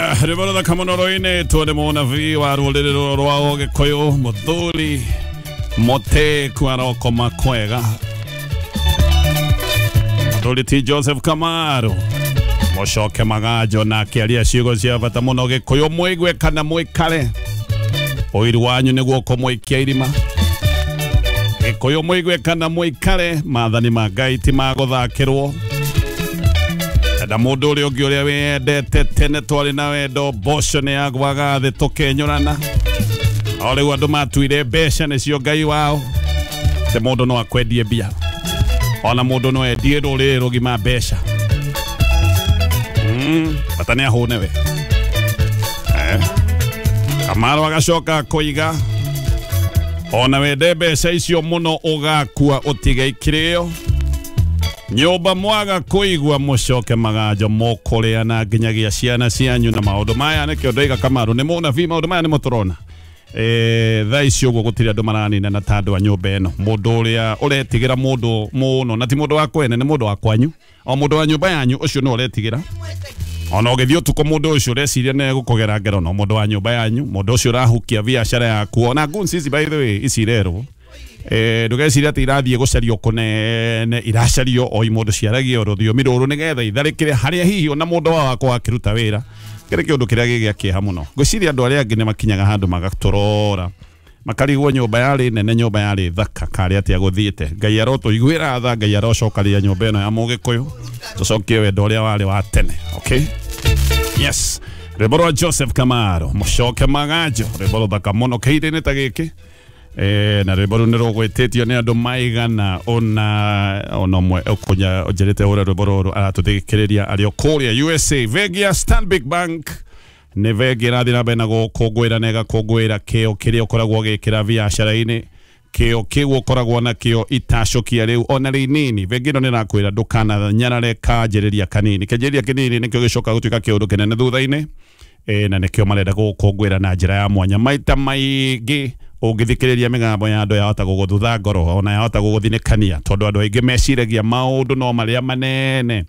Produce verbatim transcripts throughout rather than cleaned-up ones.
Aya, rwĩmbo rũthaka mũno rũinĩtwo nĩ mũnabii wa rũrĩrĩ rũrũ rwa Ũgĩkũyũ, mũthuri mũtĩku arokoma kwega, mũthuri ti Joseph Kamaru mũcoke maganjo na akĩaria ciugo cia bata mũno Gĩkũyũ mũigue kana mũikare ũiru wanyu nĩguo kũmũikia irima. Gĩkũyũ mũigue kana mũikare, maathani ma Ngai ti ma gũthakĩrwo. Na mũndũ ũrĩa ũngĩ ũrĩa wendete tene twarĩ na wendo, mboco nĩ yagwaga thĩ tũkenyũrana. O rĩu andũ matuire mbeca nĩcio Ngai wao, atĩ mũndũ no akwendie mbia, ona mũndũ no endie rũrĩrĩ rũgima mbeca. Mm, bata nĩ ahũne we. Eh. Kamaru agacoka koiga ona wende mbeca icio mũno ũgakua ũtige ikĩrĩo. Nyũmba mwaga kũigua mũcoke maganjo mũkũrĩa na nginyagia ciana cianyu na maũndũ maya nĩkĩo ndoiga Kamaru nĩ mũnabii, maũndũ maya nĩmo tũrona. Eh, thaa ici ũguo gũtirĩ andũ maraninana ta andũ a nyũmba ĩno. Mũndũ ũrĩa ũretigĩra mũndũ mũno na ti mũndũ wa kwene, nĩ mũndũ wa kwanyu, o mũndũ wa nyũmba yanyu ũcio nĩ ũretigĩra. Ona ũgĩthiĩ ũtukũ mũndũ ũcio ũreciria nĩ egũkũgera ngero, no mũndũ wa nyũmba yanyu, mũndũ ũcio ũrahukia biacara yaku. Ona guns ici by the way ici irerwo eh, ndũgeciria atĩ irathiĩ gũcario kũnene, iracario o mũndũ ciaragia rũthiomi rũrũ nĩgetha itharĩkĩre harĩa hihi ona mũndũ wao akwa akĩruta wĩra. Kĩrĩ kĩũndũ kĩrĩa gĩ gĩa kĩeha mũno. Ngwĩciria andũ arĩa angĩ nĩ makinyaga handũ magatũrora makarigwo nyũmba yarĩ nene, nyũmba yarĩ thaka, karĩ atĩa gũthiĩte. Ngai arotũiguĩra tha, Ngai arocokaria nyũmba ĩno ya Mũgĩkũyũ, tũcokie wendo ũrĩa warĩ wa tene. Okay? Yes. Rwĩmbo rwa Joseph Kamaru mũcoke maganjo, rwĩmbo rũthaka mũno kĩhinda-inĩ ta gĩkĩ. Eh, na rwĩmbo rũu nĩ rũgwĩtĩtio nĩ andũ maigana ona ona ũmwe ũkũnya ũnjĩrĩte ũrĩa rwĩmbo rũrũ aratũthikĩrĩria arĩ o kũrĩa U S A. Bengi ya Stanbic Bank nĩ bengi ĩrathiĩ na mbere na gũkũngũĩra na ĩgakũngũĩra kĩo kĩrĩa ũkoragwo ũgĩkĩra biacara-inĩ, kĩo kĩu ũkoragwo nakĩo itacũkia rĩu ona rĩnini. Bengi ĩno nĩ ĩrakwĩra ndũkananyarare kanjĩrĩria kanini, kĩanjĩrĩria kĩnini nĩkĩo gĩcokaga gũtuĩka kĩũndũ kĩnene thutha-inĩ. E, na nĩkĩo marenda gũkũngũĩra na njĩra ya mwanya. Maita maingĩ ũngĩthikĩrĩria mĩgambo ya andũ yahota gũgũthutha ngoro ona yahota gũgũthinĩkania, tondũ andũ aingĩ meciragia maũndũ no marĩa manene.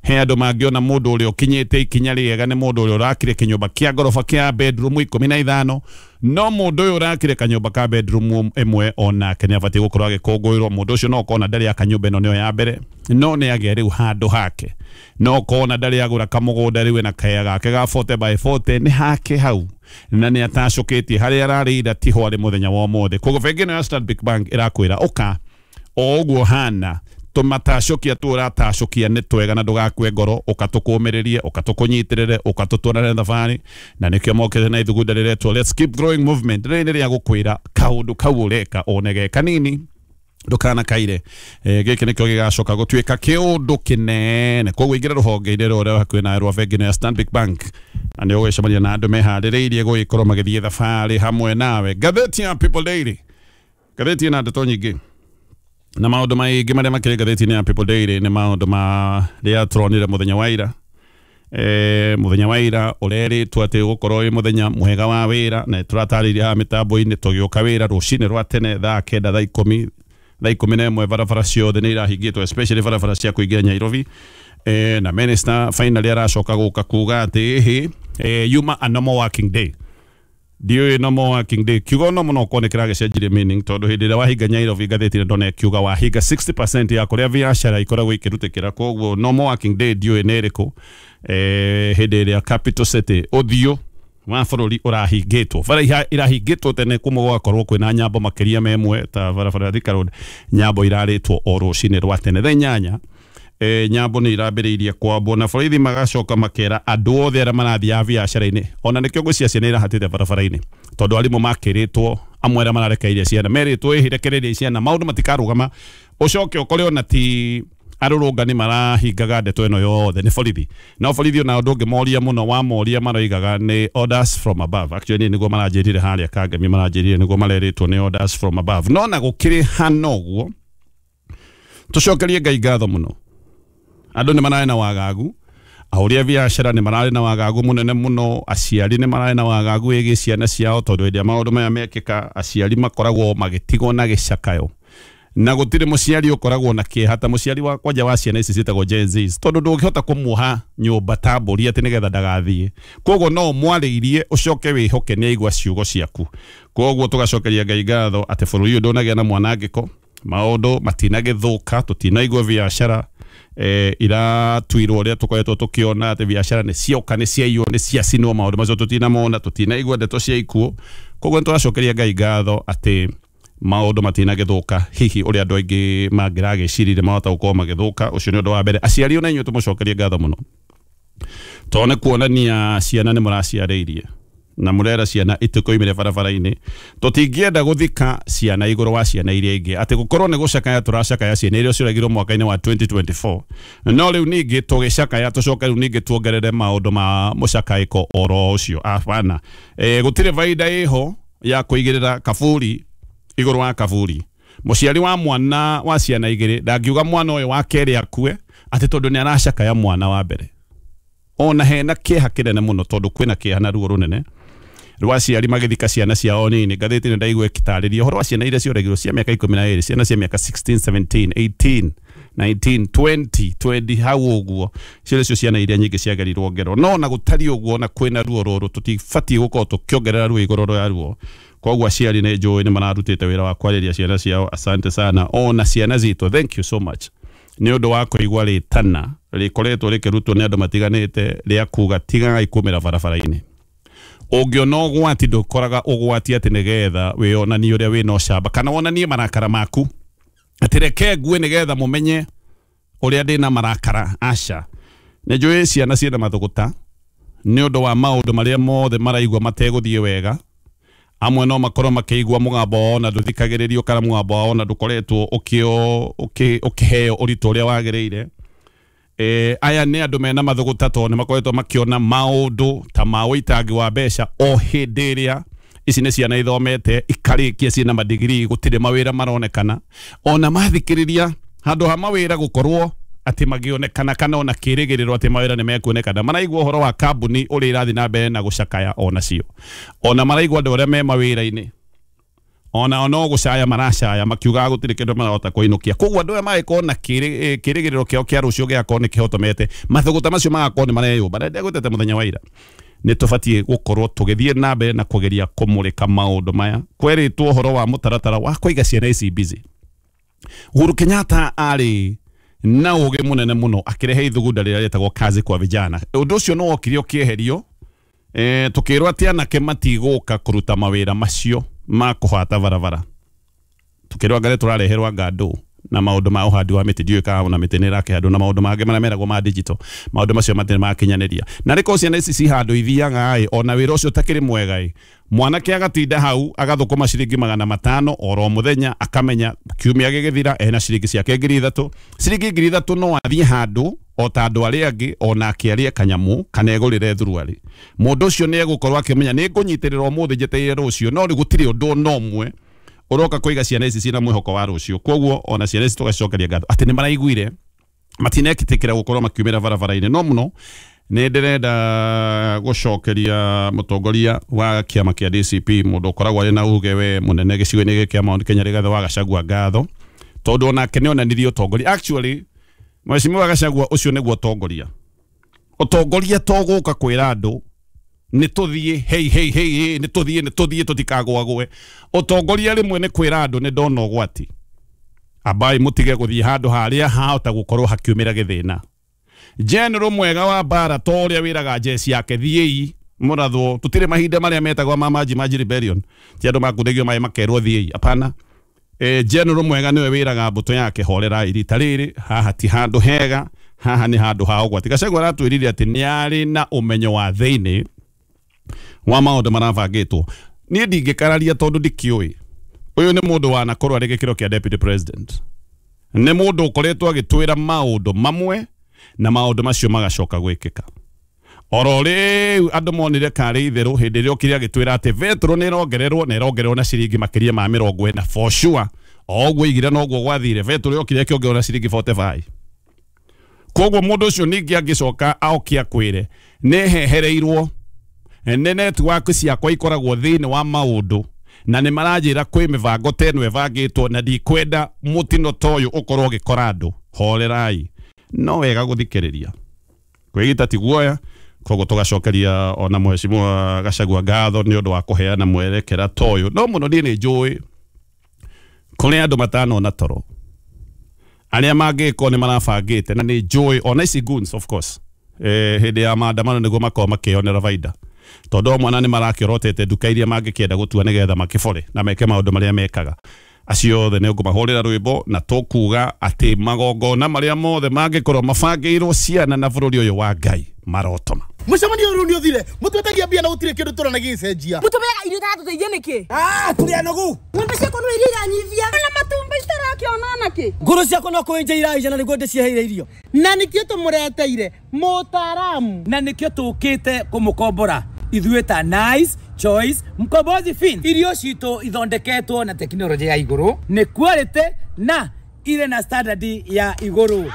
He andũ mangĩona mũndũ ũrĩa ũkinyĩte ikinya rĩega nĩ mũndũ ũrĩa ũrakire kĩnyũmba kĩa ngoroba kĩa bedroom ikũmi na ithano, no mũndũ ũyũ ũrakire kanyũmba ka bedroom ĩmwe onake nĩ abatiĩ gũkorwo agĩkũngũĩrwo. Mũndũ ũcio no ũkona ndarĩ aka nyũmba ĩno nĩyo ya mbere, no nĩ agĩa rĩu handũ hake, no ũkona ndarĩ agũra kamũgũnda rĩu ena kaya gake ga forty by forty nĩ hake hau, na nĩ atacũkĩtie harĩa ararĩ ira tiho arĩ mũthenya wa ũmũthĩ. Koguo bengi ĩno ya Stanbic Bank ĩrakwĩra ũka o ũguo hana, tũmatacũkia tu ũratacũkia nĩ twega na ndũgakue ngoro, ũka tũkũmĩrĩrie, ũka tũkũnyitĩrĩre, ũka tũtwarane thabarĩ. Na nĩkĩo mokĩte na ithugunda rĩretwo Let's Keep Growing Movement. Rĩrĩ nĩ rĩa gũkwĩra kaũndũ kau ũreka one ge kanini ndũkanakaire. E, gĩkĩ nĩkĩo gĩgacoka gũtuĩka kĩũndũ kĩnene. Koguo ingĩra rũhonge-inĩ rũrĩa hakuhĩ nawe rwa bengi ĩno ya Stanbic Bank na nĩ ũgũcemania na andũ meharĩrĩirie gũgĩkorwo magĩthiĩ thabarĩ hamwe nawe. Ngathĩti ya People Daily, ngathĩti ĩna ndeto nyingĩ na maũndũ maingĩ marĩa makĩrĩ ngathĩti-inĩ ya People Daily nĩ maũndũ marĩa tũronire mũthenya wa ira. Eh, mũthenya wa ira ũrerĩtwo atĩ ũgũkorwo wĩ mũthenya mwega wa wĩra, na tũratarĩirie haha mĩtambo-inĩ tũgĩũka wĩra rũcinĩ rwa tene thaa kenda thaa ikũmi thaa ikũmi na ĩmwe barabara ciothe nĩ irahingĩtwo, especially barabara cia kũingĩra Nairobi. Eh, na minister finally aracoka gũka kuga atĩ ĩhĩ, eh, yuma a normal working day. Ndiũĩ normal working day kiugo normal no korwo nĩ kĩragĩcenjirie meaning, tondũ hĩndĩ ĩrĩa wahinga Nairobi ngathĩti-inĩ ndona ĩkiuga wahinga sixty percent ya kũrĩa biacara ikoragwo ikĩrutĩkĩra. Koguo normal working day ndiũĩ nĩ ĩrĩkũ. Eh, hĩndĩ ĩrĩa capital city ũthiũ wa bũrũri ũrahingĩtwo, bara irahingĩtwo tene kumwe gũgakorwo kwĩna nyambo makĩria ma ĩmwe ta barabara ya Thika Road, nyambo irarĩtwo o rũcinĩ rwa tene thaa inyanya. E, nyambo nĩ irambĩrĩirie kwambwo na borithi magacoka makera andũ othe arĩa marathiaga biacara-inĩ, ona nĩkĩo ngwĩciria ciana irahatĩte barabara-inĩ, tondũ arimũ makĩrĩtwo amwe arĩa mararekereirie ciana merĩtwo ĩhĩ rekereria ciana maũndũ matikarũgama. Ũcoke ũkore ona ti arũrũngani marahingaga ndeto ĩno yothe nĩ borithi. No borithi ona ũndũ ũngĩ moria mũno wamoria maroigaga nĩ orders from above. Actually nĩguo maranjĩrire harĩa Kangemi, maranjĩrire nĩguo marerĩtwo nĩ orders from above. No na gũkĩrĩ hana ũguo, tũcokerie Ngai ngatho mũno. Andũ nĩ mararĩ na wagagu, ahũri a biacara nĩ mararĩ na wagagu mũnene mũno, aciari nĩ mararĩ na wagagu wĩgiĩ ciana ciao, tondũ hĩndĩ ĩrĩa maũndũ maya mekĩka aciari makoragwo magĩtigwo na gĩcakayo. Na gũtirĩ mũciari ũkoragwo na kĩeha ta mũciari wa kwanja wa ciana ici ciĩtagwo Gen Zs, tondũ ndũngĩhota kũmuoha nyũmba ta mbũri atĩ nĩgetha ndagathiĩ. Koguo no ũmwarĩirie ũcoke wĩhoke nĩ aigua ciugo ciaku. Koguo tũgacokeria Ngai ngatho atĩ bũrũri ũyũ ndũnagĩa na mwanangĩko, maũndũ matinagĩthũka, tũtinaigua biacara eh, iratuirwo ũrĩa tũkoretwo tũkĩona atĩ biacara nĩ cioka, nĩ ciaiywo, nĩ ciacinwo, maũndũ macio tũtinamona, tũtinaigua ndeto cia ikuũ. Koguo nĩ tũracokeria Ngai ngatho atĩ maũndũ matinagĩthũka hihi ũrĩa andũ aingĩ mangĩragĩciririe mahota gũkorwo magĩthũka. Ũcio nĩ ũndũ wa mbere. Aciari ona inyuĩ tũmũcokerie ngatho mũno, tondũ nĩ kuonania ciana nĩ mũraciarĩirie na mũrera ciana itikoimire barabara-inĩ. Tũtingĩenda gũthika ciana igũrũ wa ciana iria ingĩ, atĩ gũkorwo nĩ gũcakaya tũracakaya ciana iria ciũragirwo mwaka-inĩ wa twenty twenty-four, no rĩu ningĩ tũgĩcakaya tũcoke rĩu ningĩ tuongerere maũndũ ma mũcakaĩko oro ũcio. Abana, e, gũtirĩ baida ĩho ya kũigĩrĩra kaburi igũrũ wa kaburi. Mũciari wa mwana wa ciana igĩrĩ ndangiuga mwana ũyũ wa kerĩ akue atĩ tondũ nĩ aracakaya mwana wa mbere. Ona hena kĩeha kĩnene mũno, tondũ kwĩna kĩeha na ruo rũnene rwa aciari magĩthika ciana ciao nini. Ngathĩti nĩ ndaigua ĩgĩtarĩria ũhoro wa ciana iria cioragirwo cia mĩaka ikũmi na ĩrĩ, ciana cia mĩaka sixteen, seventeen, eighteen, nineteen, twenty, twenty hau ũguo. Icio nĩcio ciana iria nyingĩ ciagerirwo ngero. No ona gũtariĩ ũguo, ona kwĩna ruo rũrũ, tũtibatiĩ gũkorwo tũkĩongerera ruo igũrũ rĩa ruo. Koguo aciari nĩ njũĩ nĩ mararutĩte wĩra wa kwarĩria ciana ciao. Asante sana ona ciana citũ, thank you so much nĩ ũndũ wa kũigua rĩtana rĩkoretwo rĩkĩrutwo nĩ andũ matiganĩte rĩa kuga tigagai kumĩra barabara-inĩ. Ũngĩona ũgwati ndũkoraga ũgwati atĩ nĩgetha wĩonanie ũrĩa wĩna ũcamba kana wonanie marakara maku, atĩ reke ngue nĩgetha mũmenye ũrĩa ndĩna marakara. Aca, nĩ njũĩ ciana ciĩna mathũgũta nĩ ũndũ wa maũndũ marĩa mothe maraigua mategũthiĩ wega. Amwe no makorwo makĩigua mũgambo wao na ndũthikagĩrĩrio, kana mũgambo wao na ndũkoretwo ũkĩheo ũritũ ũrĩa wagĩrĩire. E, aya nĩ andũ mena mathũgũta tondũ nĩ makoretwo makĩona maũndũ ta ma ũitangi wa mbeca o hĩndĩ ĩrĩa ici nĩ ciana ithomete ikarĩkia ciĩna madigiri, gũtirĩ mawĩra maronekana. Ona mathikĩrĩria handũ ha mawĩra gũkorwo atĩ magĩonekana kana ona kĩrĩgĩrĩro atĩ mawĩra nĩ mekuonekana, maraigua ũhoro wa kambuni ũrĩa irathiĩ na mbere na gũcakaya onacio. Ona maraigua andũ arĩa me mawĩra-inĩ ona no gũcaya maracaya makiugaga gũtirĩ kĩndũ marahota kũinũkia. Koguo andũ aya magĩkorwo na kĩrĩgĩrĩro kĩao kĩa rũciũ gĩgakorwo nĩ kĩhotomete, mathũgũta macio magakorwo nĩ mareyũmba. Na ndegũtete mũthenya wa ira, nĩ tũbatiĩ gũkorwo tũgĩthiĩ na mbere na kũgeria kũmũrĩka maũndũ maya. Kwerĩtwo ũhoro wa mũtaratara wa kũiga ciana ici busy. Uhuru Kenyatta arĩ na ũgĩ mũnene mũno akĩrehe ithugunda rĩrĩa rĩtagwo kazi kwa vijana. Ũndũ ũcio nĩ wokire ũkĩeherio, e, tũkĩrwo atĩ anake matigũka kũruta mawĩra macio ma kũhata barabara. Tũkĩrwo anga nĩ tũrareherwo ngandũ na maũndũ ma ũhandi wa mĩtĩ, ndiũĩ kana ona mĩtĩ nĩ ĩrakĩhandwo, na maũndũ mangĩ marĩa meragwo ma digital, maũndũ macio matirĩ makinyanĩria. Na rĩkorwo ciana ici ci handũ ithiaga ĩ, ona wĩra ũcio ũtakĩrĩ mwega ĩ, mwanake agatinda hau agathũkũma ciringi magana matano oro mũthenya, akamenya kiumia gĩgĩthira ena ciringi ciake ngiri ithatũ. Ciringi ngiri ithatũ no athiĩ handũ o ta andũ arĩa angĩ, ona akĩarie kanyamũ kana egũrĩre thuruarĩ. Mũndũ ũcio nĩ egũkorwo akĩmenya nĩ ngũnyitĩrĩra ũmũthĩ njetereire rũciũ, no rĩu gũtirĩ ũndũ ona ũmwe ũroka kũiga ciana ici ciĩna mwĩhoko wa rũciũ. Koguo ona ciana ici tũgacicokeria ngatho atĩ nĩ maraiguire, matinetĩkĩra gũkorwo makiumĩra barabara-inĩ. No mũno nĩ ndĩrenda gũcokeria mũtongoria wa kĩama kĩa D C P, mũndũ ũkoragwo arĩ na uge we mũnene gĩcigo-inĩ gĩkĩ kĩa Mount Kenya, Rigathĩ wa Gachagua ngatho, tondũ onake nĩ onanirie ũtongoria. Actually Mheshimiwa Gachagua ũcio nĩguo ũtongoria. Ũtongoria to gũka kwĩra andũ nĩ tũthiĩ, hei hei hei, nĩ tũthiĩ, nĩ tũthiĩ, tũtikagũagũe. Ũtongoria rĩmwe nĩ kwĩra andũ nĩ ndona ũgwati, ambai mũtige gũthiĩ handũ harĩa hahota gũkorwo hakiumĩra gĩthĩna. General mwega wa mbara to ũrĩa wĩraga jeshi yake thiĩi mũrathwo, tũtirĩ mahinda marĩa metagwo ma Maji Maji Rebellion, ti andũ makunĩgio maĩ makerwo thiĩi, hapana. E, general mwega nĩwe wĩraga mbũtũ yake horera rita rĩrĩ, haha ti handũ hega, haha nĩ handũ ha ũgwati. Gachagua aratwĩrire atĩ nĩ arĩ na ũmenyo wa thĩinĩ wa maũndũ marabangĩtwo. Niĩ ndingĩkararia tondũ ndikĩũĩ. Ũyũ nĩ mũndũ wanakorwo arĩ gĩkĩro kĩa deputy president, nĩ mũndũ ũkoretwo agĩtwĩra maũndũ mamwe na maũndũ macio magacoka gwĩkĩka. Oro rĩu andũ monire karĩ itherũ hĩndĩ ĩrĩa okire agĩtwĩra atĩ betũrũ nĩ ĩrongererwo na ĩrongererwo na ciringi makĩria ma mĩrongo ĩna for sure. O ũguo igire noguo gwathire, betũrũ yokire ĩkĩongererwo na ciringi forty-five. Koguo mũndũ ũcio ningĩ angĩcoka aoke akwĩre nĩ hehereirwo, nĩ network ciakwa ikoragwo thĩinĩ wa maũndũ, Na nĩ maranjĩra kwĩ mĩbango ta ĩno ĩbangĩtwo na ndikwenda mũtino ta ũyũ ũkorwo ũgĩkora andũ. Horerai, no wega gũthikĩrĩria kwĩgita ti guoya. Koguo tũgacokeria ona mheshimiwa Gachagua ngatho nĩ ũndũ wa kũheana mwerekera ta ũyũ. No mũno niĩ nĩ njũĩ kũrĩ andũ matanona toro arĩa mangĩkorwo nĩ marabangĩte, na nĩ njũĩ ona ici goons of course eh, hĩndĩ ya maandamano nĩguo makorwo makĩonera baida, tondũ o mwana nĩ marakĩorotete nduka iria mangĩkĩenda gũtua nĩgetha makĩbore na meke maũndũ marĩa mekaga. Acio othe nĩ ngũmahũrĩra rwĩmbo na tũkuga atĩ magongona marĩa mothe mangĩkorwo mabangĩirwo ciana na bũrũri ũyũ wa Ngai marotoma. Mũcemanio ũyũ nĩ ũthire, mũtwetagia mbia na gũtirĩ kĩndũ tũrona gĩgĩcenjia. Mũtũmĩraga irio itaratũteithia nĩkĩ? Ah, tũrĩ anogu. Ng'ombe ciakwa no iria iranyivia. Na matumbĩ citarakĩona nakĩ? Ngũrũ ciakwa no kũenja iraija na nĩguo ndĩciheire irio. Na nĩkĩo tũmũreteire mũtaaramu. Na nĩkĩo tũkĩte kũmũkombora ithuĩ ta Nice Choice Mkombozi Fin. Irio citũ ithondeketwo na tekinoronjĩ ya igũrũ, nĩ quality na irĩ na standard ya igũrũ.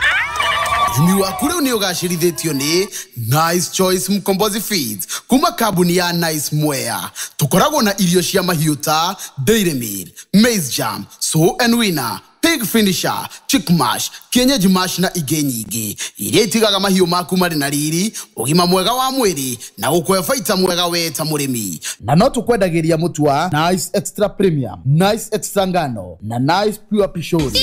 Ũrĩmi waku rĩu nĩ ũgacĩrithĩtio nĩ Nice Choice Mkombozi Feeds kuma kambuni ya Nice Mwea. Tũkoragwo na irio cia mahiũ ta Dairy Meal, Maize Jam, Sow and Winner, Pig Finisher, Chick Mash, Kienyeji Mash na ingĩ nyingĩ iria itigaga mahiũ maku marĩ na riri, ũgima mwega wa mwĩrĩ na gũkũhe baita mwega we ta mũrĩmi. Na no tũkwendagĩria mũtu wa Nice Extra Premium, Nice Extra Ngano na Nice Pure Pishori.